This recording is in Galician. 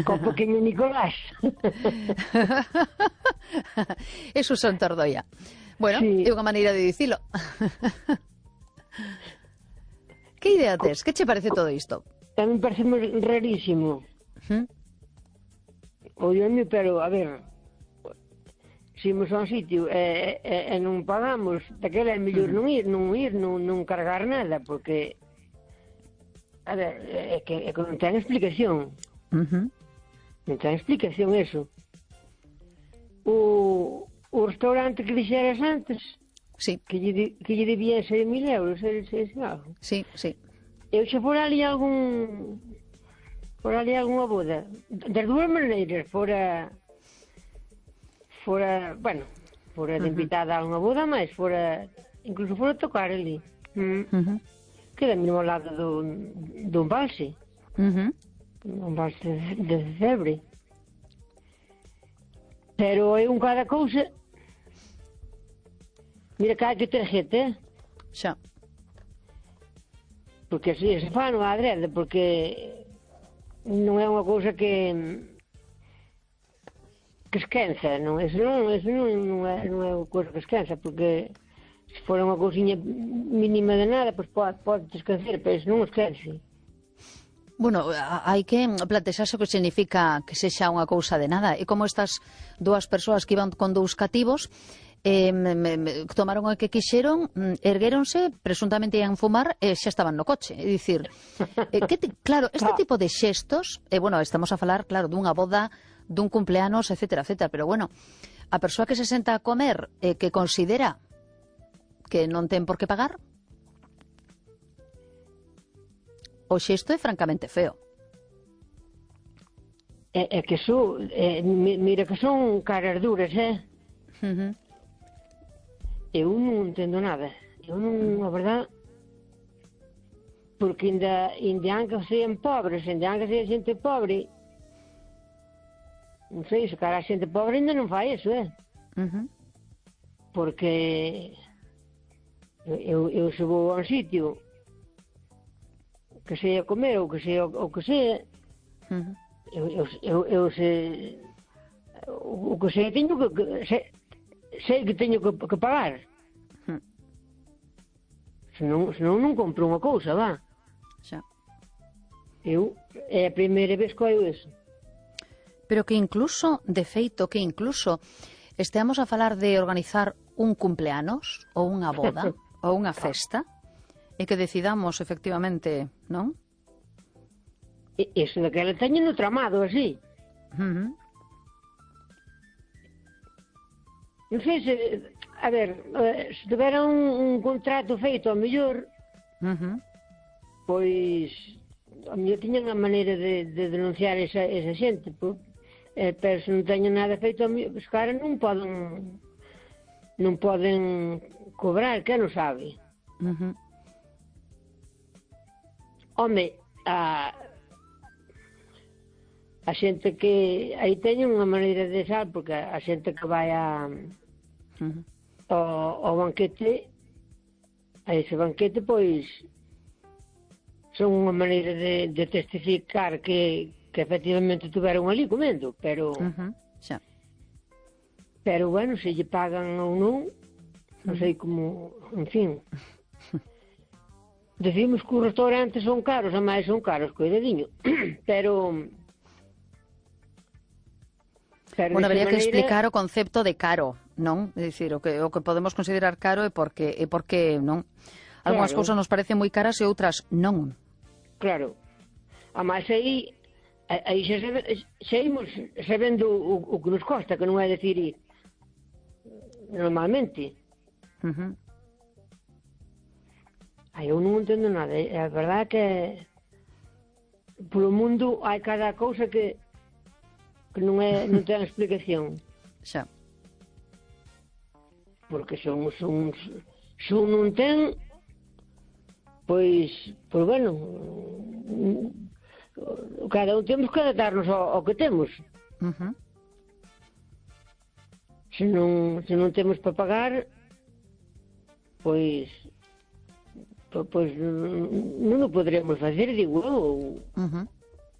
co pequeño Nicolás. Eso son Tordoia. Bueno, Sí. é unha maneira de dicilo. Que idea tes? Que che parece todo isto? A mí parece rarísimo. Oiame, pero, a ver, se imos a un sitio e non pagamos, daquela é mellor non ir, non cargar nada, porque, a ver, é que non ten explicación. Non ten explicación eso. O restaurante que dixeras antes, Sí, que lle debía 6.000 euros, algo. sí, sí. Eu xa fora ali algunha boda. Das dúas maneiras, fora de invitada a unha boda, mas incluso fora tocar ali. Queda mesmo ao lado do embalse. Un embalse de Cebre. Pero é un cada cousa. Mira que hai que ter gente, Xa. porque así se fa non adrede, porque non é unha cousa que esquenza, non? Eso non é unha cousa que esquenza, porque se fora unha cousiña mínima de nada, pois pode esquecer, pero eso non esquence. Bueno, hai que plantexarse o que significa que sexa unha cousa de nada. E como estas dúas persoas que iban con dous cativos tomaron o que quixeron, erguéronse, presuntamente ian fumar e xa estaban no coche. É dicir, claro, este tipo de xestos, bueno, estamos a falar, claro, dunha boda, dun cumpleanos, etcétera, etcétera, pero bueno, a persoa que se senta a comer que considera que non ten por que pagar, o xesto é francamente feo. É que mira que son caras duras, Eu non entendo nada. Eu non, a verdad, porque ainda que sean pobres, ainda que sean xente pobre, non sei, se cara a xente pobre ainda non fai eso, Porque eu se vou a un sitio que sea comer ou que sea o que sea, eu sei o que sei teño que sei que teño que pagar. Senón non compro unha cousa, va. Xa. É a primeira vez que oio eso. Pero que incluso, de feito, que incluso esteamos a falar de organizar un cumpleanos ou unha boda ou unha festa e que decidamos efectivamente, non? Eso daquela teño no tramado, así. Non sei se, a ver, se tivera un contrato feito, ao mellor, pois, ao mellor tiñan a maneira de denunciar esa xente, pero se non teñen nada feito, os caras non poden cobrar, que non sabe. Home, a xente que aí teñen unha maneira de sal, porque a xente que vai ao banquete, a ese banquete, pois son unha maneira de testificar que efectivamente tuveron ali comendo, pero pero bueno, se lle pagan ou non sei como, en fin. Decimos que os restaurantes son caros, a máis son caros, coidadiño, pero bueno, habería que explicar o concepto de caro, non? É dicir, o que podemos considerar caro é porque non. Algúnas cousas nos parecen moi caras e outras non. Claro. A máis aí xa imos sabendo o que nos costa, que non é dicir normalmente. Eu non entendo nada. É a verdade que polo mundo hai cada cousa que non ten explicación. Xa. Porque son non ten, pois bueno, cada un temos que adaptarnos ao que temos. Se non temos para pagar, pois non o poderemos facer, digo eu.